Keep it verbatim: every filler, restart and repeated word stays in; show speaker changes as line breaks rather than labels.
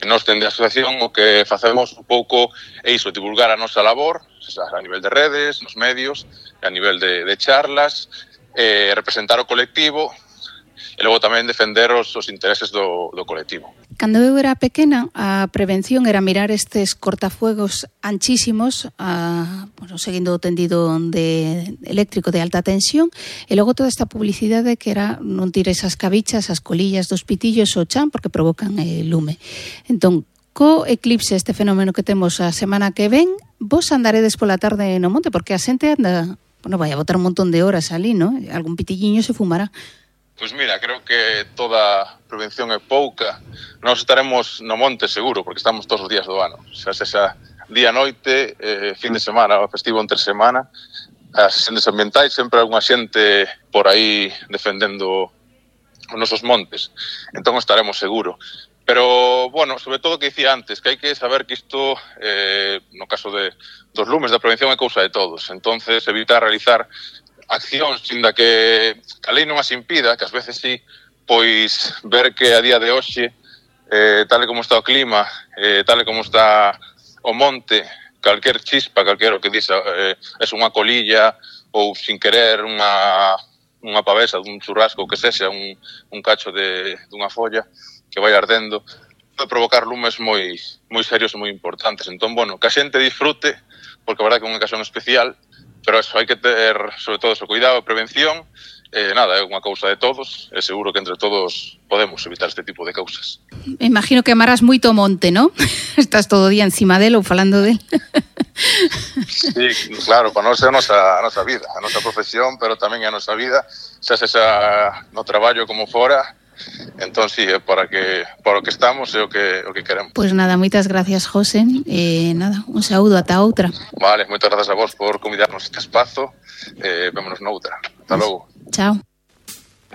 Nós, dende a asociación, o que facemos un pouco é iso, divulgar a nosa labor, a nivel de redes, nos medios, a nivel de, de charlas, eh, representar o colectivo e logo tamén defender os, os intereses do, do colectivo.
Cando eu era pequena, a prevención era mirar estes cortafuegos anchísimos, a, bueno, seguindo o tendido de eléctrico de alta tensión, e logo toda esta publicidade que era non tires as cabichas, as colillas dos pitillos o chan, porque provocan eh, lume. Entón, co eclipse, este fenómeno que temos a semana que ven, vos andaredes pola tarde no monte, porque a xente anda, bueno, vai a botar un montón de horas ali, ¿no? Algún pitilliño se fumará.
Pois mira, creo que toda prevención é pouca. Nós estaremos no monte seguro, porque estamos todos os días do ano. Xa sexa día, noite, eh, fin de semana, festivo entre semana. As xentes ambientais, sempre hai unha xente por aí defendendo os nosos montes. Entón estaremos seguro. Pero, bueno, sobre todo o que dicía antes, que hai que saber que isto, eh, no caso de, dos lumes da prevención, é cousa de todos. Entonces, evitar realizar accións, inda que a lei non as impida, que ás veces sí, pois ver que a día de hoxe, eh, tal como está o clima, eh, tal como está o monte, calquer chispa, calquer o que diz, eh, é unha colilla ou sin querer unha, unha pavesa dun churrasco, ou que sexa un, un cacho de, dunha folla que vai ardendo, pode provocar lumes moi, moi serios e moi importantes. Entón, bueno, que a xente disfrute, porque a verdade que é unha ocasión especial, pero eso, hai que ter, sobre todo, o cuidado e prevención. Eh, nada, é unha cousa de todos, e seguro que entre todos podemos evitar este tipo de causas.
Me imagino que amarás moito o monte, ¿no? Estás todo o día encima del ou falando del.
Sí, claro, para nós é a nosa, a nosa vida, a nosa profesión, pero tamén é a nosa vida, xa sexa no traballo como fora. Entón, sí, é para que para o que estamos é o que o que queremos.
Pois pues nada, moitas gracias, José. Eh, nada, un saúdo ata outra.
Vale, moitas grazas a vos por convidarnos este espazo. Eh, vémonos noutra. Ata logo.
Chao.